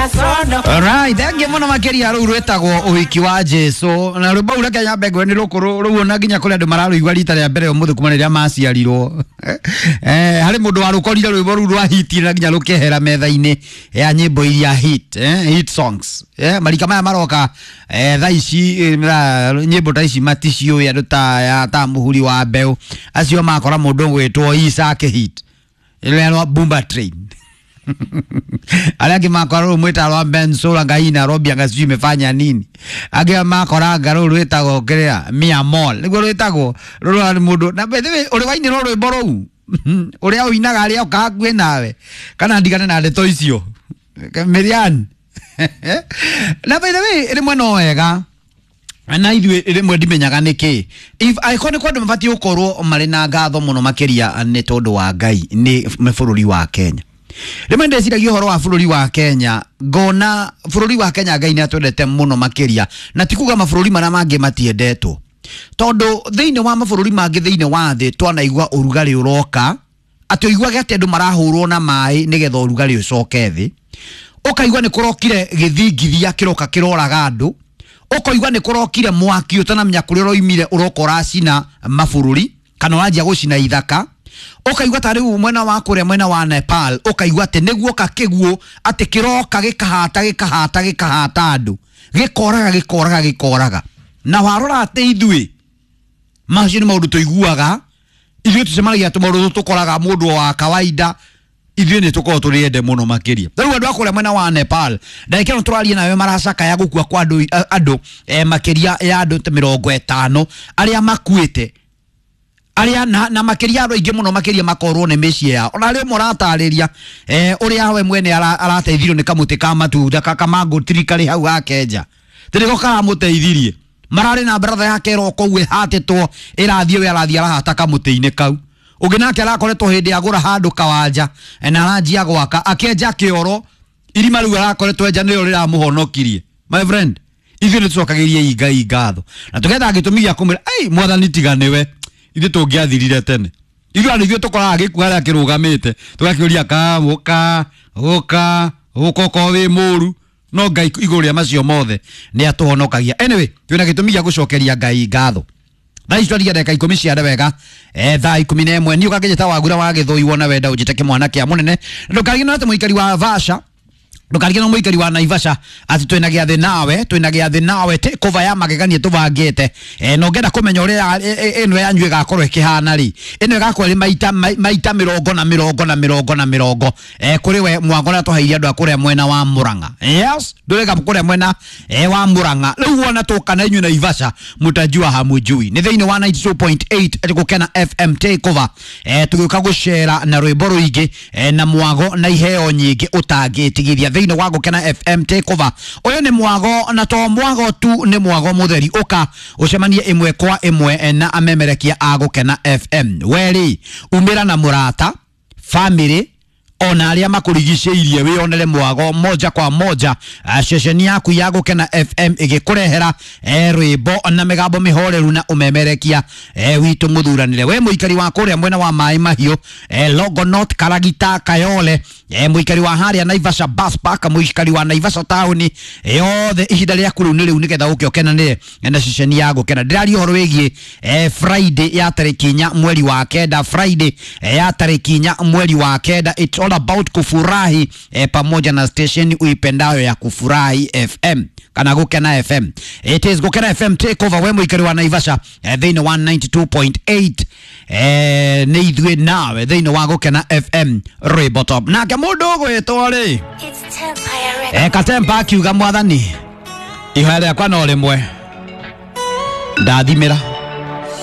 Alright, thengiũ mũno makĩria rũu rwĩtagwo ũhiki wa Jesu na rwĩmbo rũu reke nyambe ngwĩre nĩ rũkũrũ rũu ona nginya kũrĩ andũ mararũigua rita rĩa mbere ũmũthĩ kuma rĩrĩa maciarirwo. Harĩ mũndũ warũkorire rwĩmbo rũu rwa hit na nginya rũkehera metha-inĩ ya nyĩmbo iria hit, hit songs. Marika maya maroka thaa ici nyĩmbo ta ici maticiũĩ andũ ta ya ta mũhuri wa mbeũ acio makora mũndũ ũgwĩtwo Isaac hit ĩrĩa rwa Bumba Train. Arĩa angĩ makora rũu mwĩta rwa Bensoul Ngai Nairobi anga sijui imefanya nini. Angĩ makora anga rũu rwĩtagwo kĩrĩa Mia Mall nĩguo rwĩtagwo rũrũ nĩ mũndũ na by the way ũrĩ wainĩrwo rwĩmbo rũu ũrĩa ũinaga arĩa oka hakuhĩ nawe kana ndigane na ndeto icio Miriam. Na by the way rĩmwe no wega na ithuĩ rĩmwe ndimenyaga nĩkĩ if angĩkorwo nĩ kwandũ mabatiĩ gũkorwo marĩ na ngatho mũno makĩria nĩ tondũ wa Ngai nĩ bũrũri wa Kenya. Rĩmwe ndĩciragia ũhoro wa bũrũri wa Kenya ngona bũrũri wa Kenya Ngai nĩ atwendete mũno makĩria na ti kuga mabũrũri marĩa mangĩ matiendetwo tondũ thĩinĩ wa mabũrũri mangĩ thĩinĩ wa thĩ twanaigua ũrugarĩ ũroka atĩ ũiguage atĩ andũ marahũrwo na maĩ nĩgetha ũrugarĩ ũcoke thĩ, ũkaigua nĩ kũrokire gĩthingithia kĩroka kĩroraga andũ, ũkaigua nĩ kũrokire mwaki ũtanamenya kũrĩa ũroimire ũroka ũracina mabũrũri kana ũranjia gũcina ithaka, ũkaigua ta rĩu mwena wa kũrĩa mwena wa Nepal ũkaigua atĩ nĩguoka kĩguũ atĩ kĩroka gĩkahata gĩkahata gĩkahata andũ gĩkoraga gĩkoraga gĩkoraga. Na warora atĩ ithuĩ macio nĩ maũndũ tũiguaga ithuĩ tũcemanagia tũmaũndũ tũkoraga mũndũ wa kawaida ithuĩ nĩ tũkoragwo tũrĩ ende mũno makĩria. Rĩu andũ a kũrĩa mwena wa Nepal ndagĩka ĩno tũraria nawe maracakaya gũkua kwa andũ makĩria ya andũ ta 50 arĩa makuĩte arĩa na makĩria andũ aingĩ mũno makĩria makorwo nĩ mĩciĩ yao. Ona rĩmwe ũratarĩria ũrĩa we mwene arateithirio nĩ kamũtĩ ka matunda kamango tree karĩ hau hake nja tĩrĩko karamũteithirie mararĩ na brother yake ĩroka ũguo ĩhatĩtwo ĩrathiĩ we arathiĩ arahata kamũtĩ-inĩ kau ũngĩ nake arakoretwo hĩndĩ agũra handũ kawanja na aranjia gwaka akĩenja kĩoro irima rĩu arakoretwo enja nĩrĩo rĩramũhonokirie. My friend, ithuĩ nĩ tũcokagĩrie Ngai ngatho na tũgetha gĩtũmi gĩa kũmwĩra ei mwathani tiga nĩwe ithuĩ tũngĩathirire tene. Ithuĩ andũ ithuĩ tũkoraga gĩkuũ harĩa kĩrũgamĩte tũgakĩũria ka ũka ũka ũka okorwo wĩ mũru no Ngai igũrũ rĩa macio mothe nĩ atũhonokagia. Anyway, twĩna gĩtũmi gĩa gũcokeria Ngai ngatho. Thaa ici twarigia ndagĩka 10 cia wega thaa 11 niĩ ũkangĩnjĩta Wagura wa Gĩthũi wona wenda ũnjĩte kĩmwana kĩa mũnene. Ndũkariganĩrwo atĩ mũikari wa Vasha ndũkariganĩrwo mũikari wa Naivasha atĩ twĩna gĩathĩ nawe twĩna gĩathĩ nawe takeover ya magegania tũbangĩte na ũngĩenda kũmenya ũrĩa ĩno yanyu ĩgakorwo ĩkĩhana rĩ ĩno ĩgakorwo ĩrĩ maita mĩrongo na mĩrongo na mĩrongo na mĩrongo kũrĩ we mwango ũrĩa tũheire andũ a kũrĩa mwena wa Murang'a. Yes, ndũrĩga kũrĩa mwena wa Murang'a rĩu wona tũka na inyuĩ Naivasha mũtajua hamujui nĩ thĩinĩ wa 92.8 Gũkena FM takeover tũgĩũka gũcera na rwĩmbo rũingĩ na mwago na iheo nyingĩ ũtangĩtigithia thĩinĩ wa Gũkena FM takeover. Ũyũ nĩ mwago na to mwago tu nĩ mwago mũtheri ũka ũcemanie ĩmwe kwa ĩmwe na amemerekia a Gũkena FM. Werĩ umĩra na mũrata family ona arĩa makũrigicĩirie wĩonere mwago moja kwa moja ceceni yaku ya Gũkena FM ĩgĩkũrehera rwĩmbo na mĩgambo mĩhoreru na ũmemerekia witũ mũthuranĩre. We mũikari wa kũrĩa mwena wa Maĩ Mahiũ Longonot Karagita Kayole mũikari wa harĩa Naivasha Bus Park mũikari wa Naivasha taũni yothe ihinda rĩaku rĩu nĩ rĩu nĩgetha ũke ũkenanĩre na ceceni ya Gũkena. Ndĩraria ũhoro wĩgiĩ Friday ya tarĩki 4 mweri wa 9 Friday ya tarĩki 4 mweri wa 9. It's all about kufurahi pamoja na station uipendayo ya Kufurahi FM kana Gũkena FM. It is Gũkena FM takeover. We mũikari wa Naivasha thĩinĩ wa 92.8 nĩ ithuĩ nawe thĩinĩ wa Gũkena FM rwĩmbo top. Nake mũndũ ũgwĩtwo rĩ Katempa akiuga mwathani ihoya rĩakwa no rĩmwe ndathimĩra.